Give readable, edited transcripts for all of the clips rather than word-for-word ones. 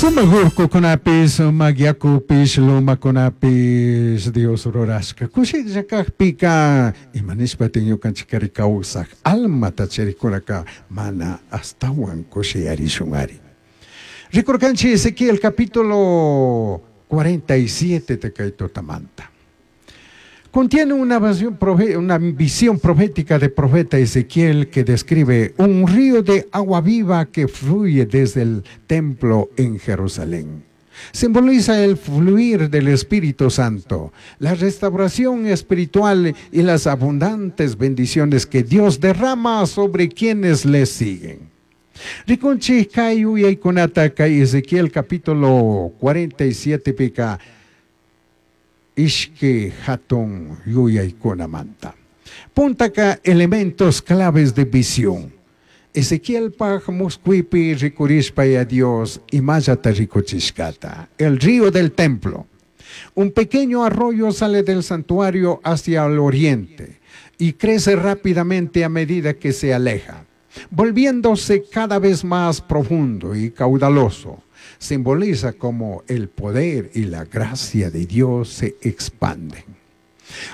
Sumaj urcucunapish, sumaj yacupish, lomacunapish Dios rurashca cushilla cajpica, ima nishpataj ñucanchijcari causaj almata charijcunaca mana ashtahuan cushiyarishunari? Ricurcanchij Ezequiel capítulo 47 ta cai tutamanta. Contiene una visión profética de profeta Ezequiel que describe un río de agua viva que fluye desde el templo en Jerusalén. Simboliza el fluir del Espíritu Santo, la restauración espiritual y las abundantes bendiciones que Dios derrama sobre quienes le siguen. Ricunchij cai yuyaicunata cai Ezequiel capítulo 47 pica ishqui jatun yuyaicunamanta. Puntaca, elementos claves de visión. Ezequielpaj muscuipi ricurishpa a Dios imallata ricuchishcata. El río del templo. Un pequeño arroyo sale del santuario hacia el oriente y crece rápidamente a medida que se aleja, volviéndose cada vez más profundo y caudaloso. Simboliza cómo el poder y la gracia de Dios se expanden.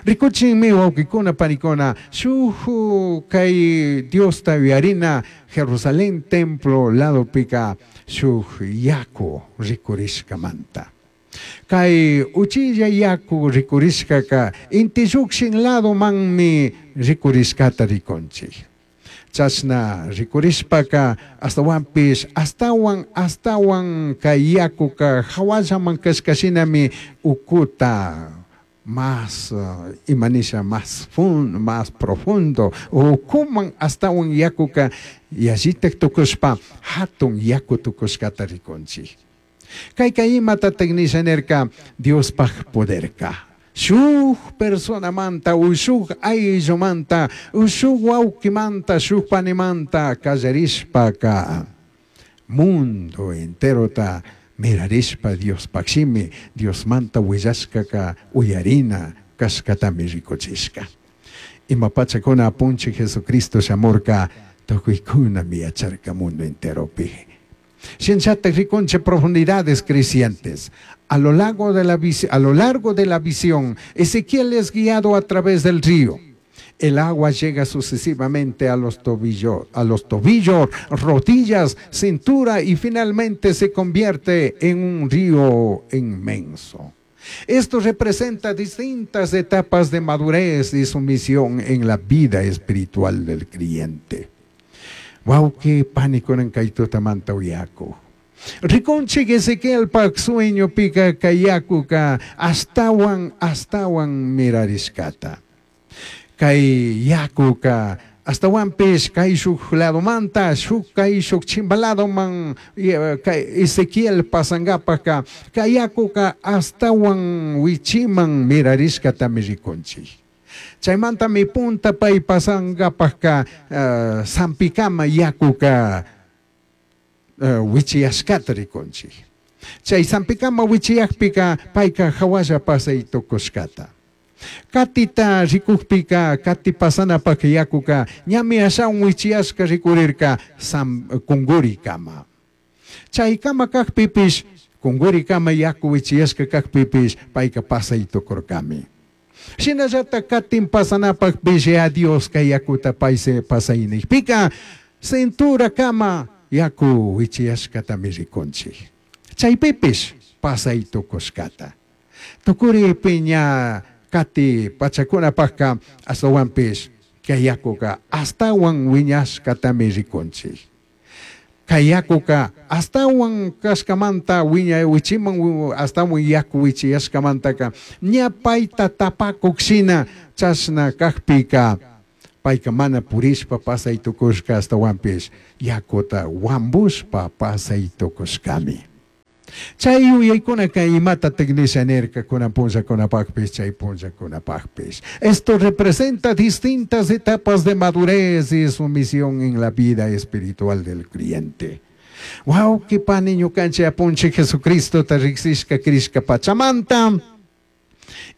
Ricuchinmi, huauquicuna, panicuna, shuj cai Diosta uyarina Jerusalén templo ladopica shuj yacu ricurishcamanta. Cai uchilla yacu ricurishcaca inti llujshin ladomanmi ricurishcata ricunchij. Chashna ricurishpaca ashtahuanpish ashtahuan ashtahuan cai yacuca jahuallaman cashca shinami ucuta más ima nisha más profundo ucuman ashtahuan yacuca yallitaj tucushpa jatun yacu tucushcata ricunchij. Caica imatataj nisha nirca? Diospaj poderca shuj personamanta o shuj ayllumanta o shuj huauquimanta, shuj panimanta callarishpaca mundo enterota mirarishpa Diospaj shimi, Diosmanta huillashcaca uyarina cashcatami ricuchishca. Ima pachacuna Apunchij Jesucristo shamurca, tucuicunami yacharca mundo enteropi. Shinallataj ricunchij profundidades crecientes. A lo largo de la visión, Ezequiel es guiado a través del río. El agua llega sucesivamente a los tobillos, rodillas, cintura y finalmente se convierte en un río inmenso. Esto representa distintas etapas de madurez y sumisión en la vida espiritual del creyente. Huauqui panicuna, cai tutamanta uyacu. Ricunchij Ezequielpaj sueñopica cai yacuca ashtahuan ashtahuan mirarishcata. Cai yacuca ashtahuanpish caishuj ladomanta shuj caishuj chimba ladoman cai Ezequiel pasangapajca cai yacuca ashtahuan huichiman mirarishcatami ricunchij. Chaimantami punta pai pasangapajca sampicama yacuca huichiyashcata ricunchij. Chai sampicama huichiyajpica paica jahualla pasai tucushcata. Catita ricujpica cati pasanapaj yacuca ñami ashawan huichiyashca ricurirca sam, cunguricama. Chaicama cajpipish, cunguricama yacu huichiyashca cajpipish, paica pasai tucurcami. Shinallata catin pasanapajpish ya Diosca yacuta paise pasai nijpica cinturacama yacu huichiyashcatami ricunchij. Chaipipish pasai tucushcata. Tucuripi ña cati pachacunapajca ashtahuanpish cai yacuca ashtahuan huiñashcatami ricunchij. Cai yacuca ashtahuan cashcamanta huiña huichiman ashtahuan yacu huichiyashcamantaca ña paita tapacuj shina chashna cajpica paica mana purishpa pasai tucushca, ashtahuanpish yacuta huambushpa pasai tucushcami. Chay yuyaykunaka imatataj nisha nirca kunan punllacunapajpish, chay punllacunapajpish? Esto representa distintas etapas de madurez y sumisión en la vida espiritual del creyente. Huauqui pani, ñucanchik Apunchik Jesucristota riksishka crishka pachamanta.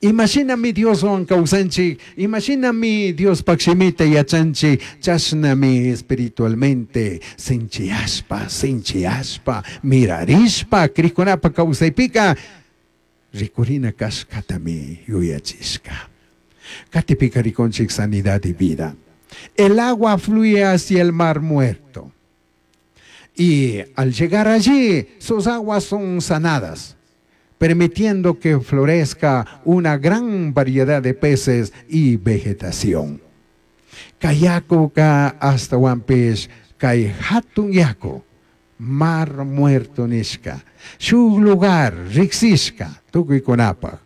Imashinami Dioswan kawsanchik, imashinami Diospaq shimita yachanchik, chashnami espiritualmente sinchiyashpa, sinchiyashpa, mirarishpa, krikkunapa kawsaypika rikurina kashkatami yuyachishka. Katipika rikunchik sanidad y vida. El agua fluye hacia el mar muerto. Y al llegar allí, sus aguas son sanadas, permitiendo que florezca una gran variedad de peces y vegetación. Kay yakuka ashtahuanpish kay hatun yaku, mar muerto nishka, shuk lugar riksishka tukuykunapaj.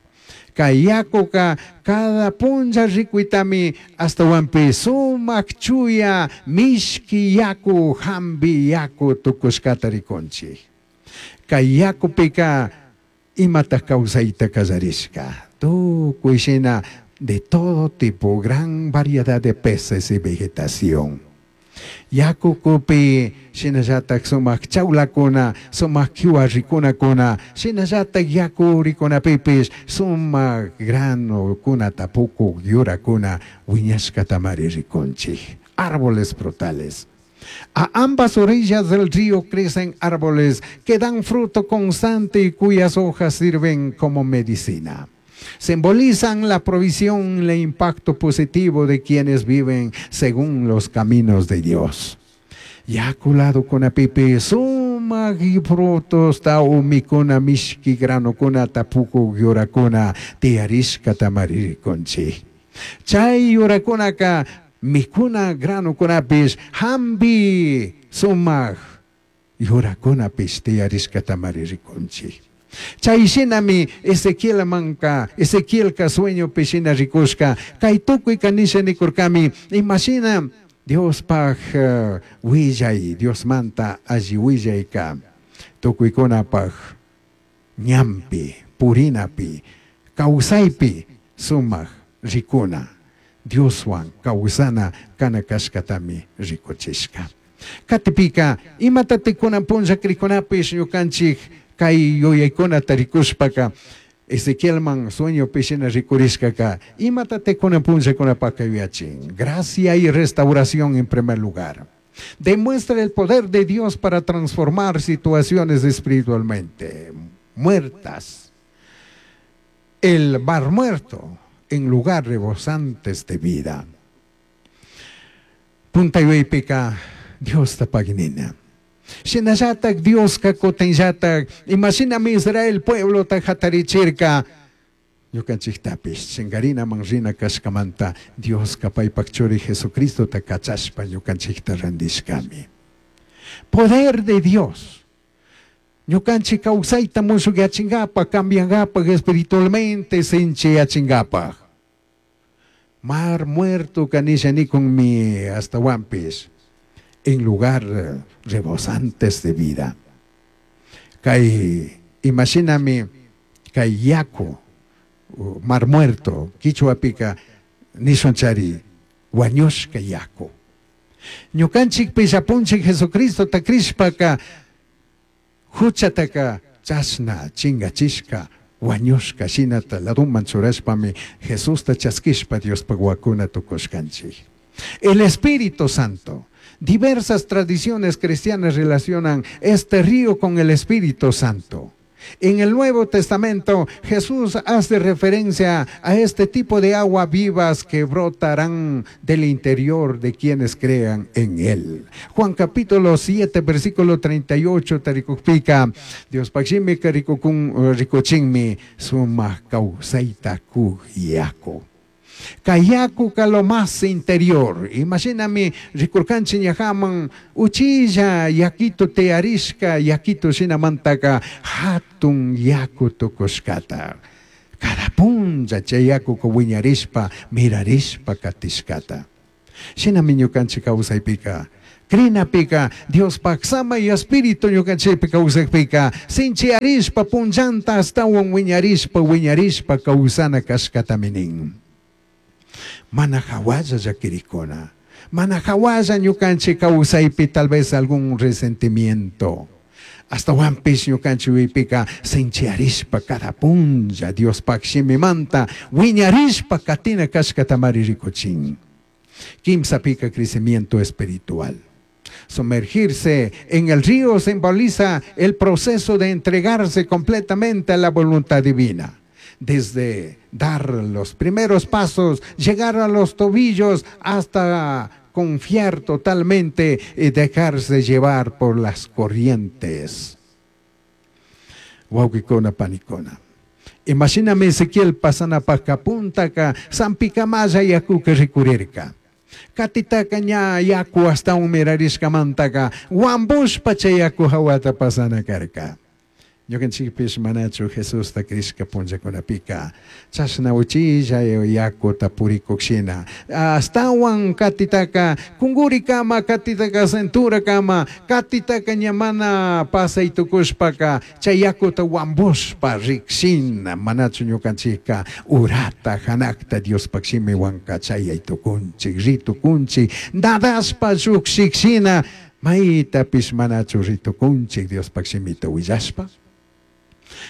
Kay yakuka cada punlla rikuitami ashtahuanpish sumak chuya mishki yaku hambi yaku tukushkata rikunchik. Kay yakupika imata kawsayta kallarishka, tukuy shina de todo tipo, gran variedad de peces y vegetación. Yakukupi shinallatak sumak chawlakuna, sumak kiwa rikunakuna, shinallatak yaku rikunapipish sumak granokuna pukuk yurakuna wiñashkatamari rikunchik. Árboles frutales. A ambas orillas del río crecen árboles que dan fruto constante y cuyas hojas sirven como medicina. Simbolizan la provisión y el impacto positivo de quienes viven según los caminos de Dios. Yaku ladokunapipi sumak frutos ta umikuna mishki granokuna pukuk yurakuna tiyarishkatamari rikunchik. Chay yurakunaka mikuna granokunapish hambi sumak yurakunapish tiyarishkatamari rikunchik. Chay shinami Ezequielmanka, Ezequielka sueñopi shina rikushka, kay tukuyka nisha nikurkami, imashina Diospaj willay, Diosmanta alli willayka, tukuykunapaj ñanpi, purinapi, kawsaypi sumak rikuna, Dioswan kawsana kana kashkatami rikuchishka. Katipika, imatatik kunan punlla krikunapish ñukanchik kay yuyaykunata rikushpaka, Ezequielman sueñopi shina rikurishkaka, imatatik kunan punllakunapaka yuyachin. Gracia y restauración en primer lugar. Demuestra el poder de Dios para transformar situaciones espiritualmente muertas. El mar muerto en lugar rebosantes de vida. Punta yuyaypika Diosta paginina. Shinallatak Dioska kutinllatak imashinami Israel pueblota hatarichirka ñukanchiktapish chingarinaman rina kashkamanta Dioska paypak churi Jesucristota kachashpa ñukanchikta randishkami. Poder de Dios. Ñukanchik kawsayta mushukyachinkapak, cambiankapak espiritualmente sinchiyachinkapak. Mar muerto kanisha nikunmi ashtawanpish en lugar rebosantes de vida. Kay imashinami kay yaku mar muerto kichwapika nishunchari wañushka yaku. Ñukanchikpish apunchik Jesucristota krishpaka huchataka chashna chingachishka wañushka shinata laduman churashpami Jesusta chaskishpa Diospaj wakuna tukushkanchik. El Espíritu Santo. Diversas tradiciones cristianas relacionan este río con el Espíritu Santo. En el Nuevo Testamento, Jesús hace referencia a este tipo de agua vivas que brotarán del interior de quienes crean en él. Juan capítulo 7, versículo 38, tarikukpika, Diospaj shimika rikukun rikuchinmi sumak kawsayta kuk yaku. Kay yakuka lo más interior. Imashinami rikurkanchik ñajaman uchilla yakito tiyarishka yakito shinamantaka hatun yaku tukushkata. Cada punlla chay yakuka wiñarishpa mirarishpa katishkata. Shinami ñukanchik kawsaypika krinapika Diospaj samay espíritu ñukanchikpi kawsakpika sinchiyarishpa punllanta ashtawan wiñarishpa wiñarishpa kawsana kashkatami nin. Mana hawalla llakirikuna, mana hawalla ñukanchik kawsaypi tal vez algún resentimiento, Astawanpish ñukanchik yuyaypika sinchiyarishpa cada punlla Diospaj shimimanta wiñarishpa katina kashkatamari rikuchin. Kimsapika crecimiento espiritual. Sumergirse en el río simboliza el proceso de entregarse completamente a la voluntad divina. Desde dar los primeros pasos, llegar a los tobillos, hasta confiar totalmente y dejarse llevar por las corrientes. Wawqikuna panikuna. Imashinami Ezequiel pasanapajka puntaka sampikamalla yakuka rikurirka. Katitaka ña yaku ashtawan mirarishkamantaka wambushpa chay yaku hawata pasana karka. Ñukanchikpish manachu Jesusta crishka punllakunapika chashna uchilla yakuta purikukshina ashtawan katitaka kungurikama katitaka cinturakama katitaka ña mana pasay tukushpaka chay yakuta wambushpa rikshina manachu ñukanchikka urata hanakta Diospaj shimiwanka chayay tukunchik ritukunchik nadashpa llukshikshina maytapish manachu ritukunchik Diospaj shimita willashpa.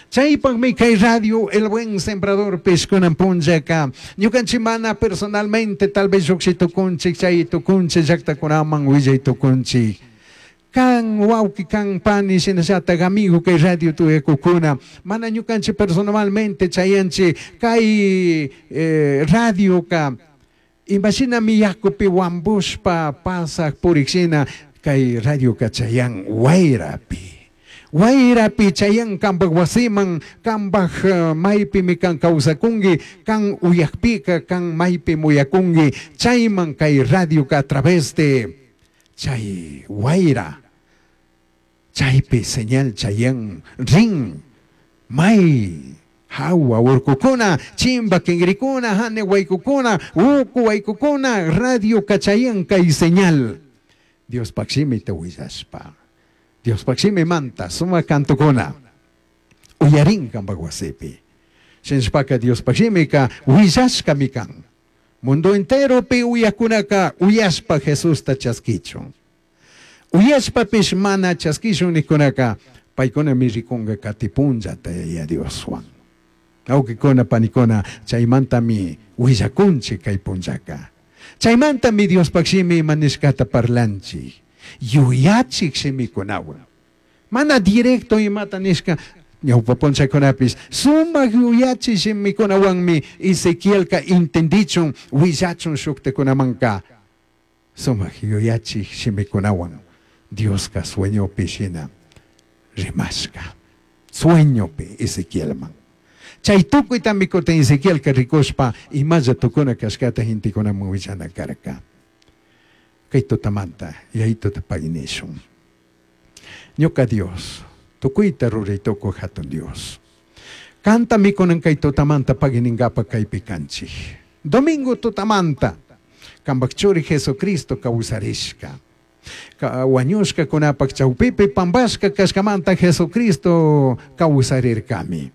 Chaypaqmi kay radio El Buen Sembrador kunan punllaka ñukanchik mana personalmente tal vez lluqshi tukunchik chay tukunchik llaqtakunaman willay tukunchik. Kan wawqi kan pani shinallatak amigo kay radio tuyakukuna mana ñukanchik personalmente chayanchik kay radioka imashinami yakupi wambushpa pasaq purikshina kay radioka chayan wayrapi. Wayrapi chayan kanpak wasiman kanpak maypimi kan kawsakunki kan uyakpika kan maypi muyakunki chayman kay radioka a través de chay wayra chaypi señal chayan rin may hawa urkukuna chimba kingrikuna hane waykukuna uku waykukuna radioka chayan kay señal Diospaj shimita willashpa Diospaj shimimanta sumak kantukuna uyarin kanpak wasipi. Shinashpaka Diospaj shimika willashkami kan. Mundo enteropi uyakunaka uyashpa Jesusta chaskichun. Uyashpapish mana chaskishun nikunaka paykunami rikunka katipunllata Yaya Dioswan. Awkikuna panikuna chaymantami willakunchik kay punllaka. Chaymantami Diospaj shimi ima nishkata parlanchik. Yuyachik shimikunawan. Mana directo imata nishka ñawpa punllakunapis sumak yuyachik shimikunawanmi Ezequielka entendichun willachun shuktakunamanka sumak yuyachik shimikunawan Dioska sueñopi shina rimashka. Sueñopi Ezequielman. Chay tukuytami kutin Ezequielka rikushpa imalla tukuna kashkata gentekunaman willana karka. Kay tutamanta yayituta paginishun. Ñuka Dios, tukuyta ruray tukuy hatun Dios. Kantami kunan kay tutamanta paginingapa kaypi kanchik. Domingo tutamanta, kanpak churi Jesucristo kawsarishka. Wañushkakunapak chawpipi pampashka kashkamanta Jesucristo kawsarirkami.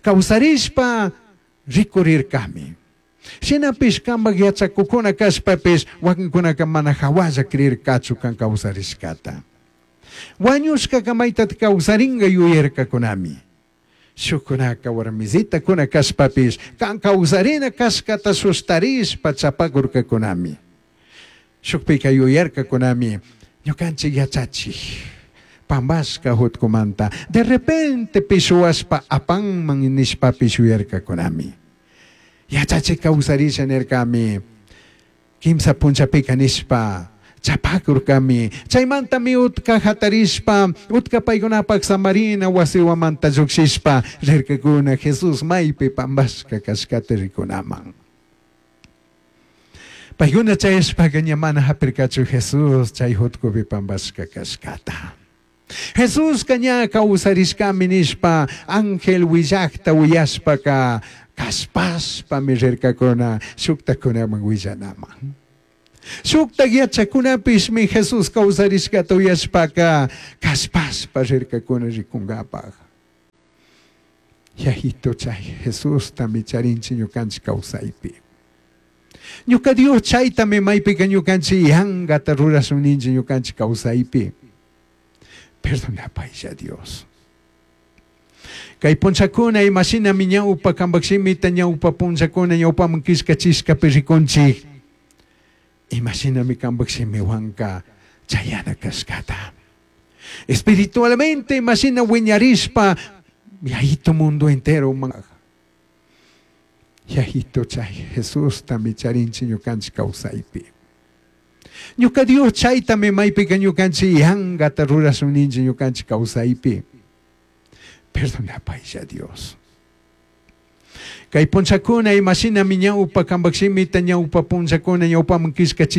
Kawsarishpa rikurirkami. Shinapish kanpak yachakukuna kashpapish wakinkunaka mana hawalla creerkachu kan kawsarishkata. Wañushkaka maytata kawsarinka yuyarkakunami. Shukkunaka warmisitakuna kashpapish kan kawsarina kashkata sustarishpa chapakurkakunami. Shukpika yuyarkakunami ñukanchik yachachik pampashka hutkumanta de repente pishuwashpa apanman nishpapish yuyarkakunami. Yachachik kawsarisha nirkami kimsa punchapika nishpa chapakurkami chaymantami utka hatarishpa utka paykunapak samarina wasiwamanta llukshishpa rirkakuna Jesús maypi pampashka kashkata rikunaman. Paykuna chayashpaka ña mana hapirkachu Jesús chay hutkupi pampashka kashkata. Jesuska ña kawsarishkami nishpa ángel willakta uyashpaka kashpashpami rirkakuna shuktakunaman willanaman. Shuktak yachakunapishmi Jesús kawsarishkata uyashpaka kashpashpa rirkakuna rikunkapak. Yayito chay Jesustami charinchik ñukanchik kawsaypi. Ñuka Dios chaytami maypika ñukanchik yankata rurashun ninchik ñukanchik kawsaypi. Perdonapaylla Dios. Kay punchakuna imashinami ñawpa kambak shimita ñawpa punchakuna ñawpaman killkachishkapi rikunchik. Imashinami kambak shimiwanka chayana kashkata. Espiritualmente imashina wiñarishpa yayito mundo entero man. Yayito chay Jesustami charinchik ñukanchik kawsaypi. Ñuka Dios chaytami maypika ñukanchik yankata rurashun ninchik ñukanchik kawsaypi. Perdonapaylla Dios. Kay punchakuna imashinami ñawpa kambak shimita ñawpa punchakuna ñawpaman killkachi.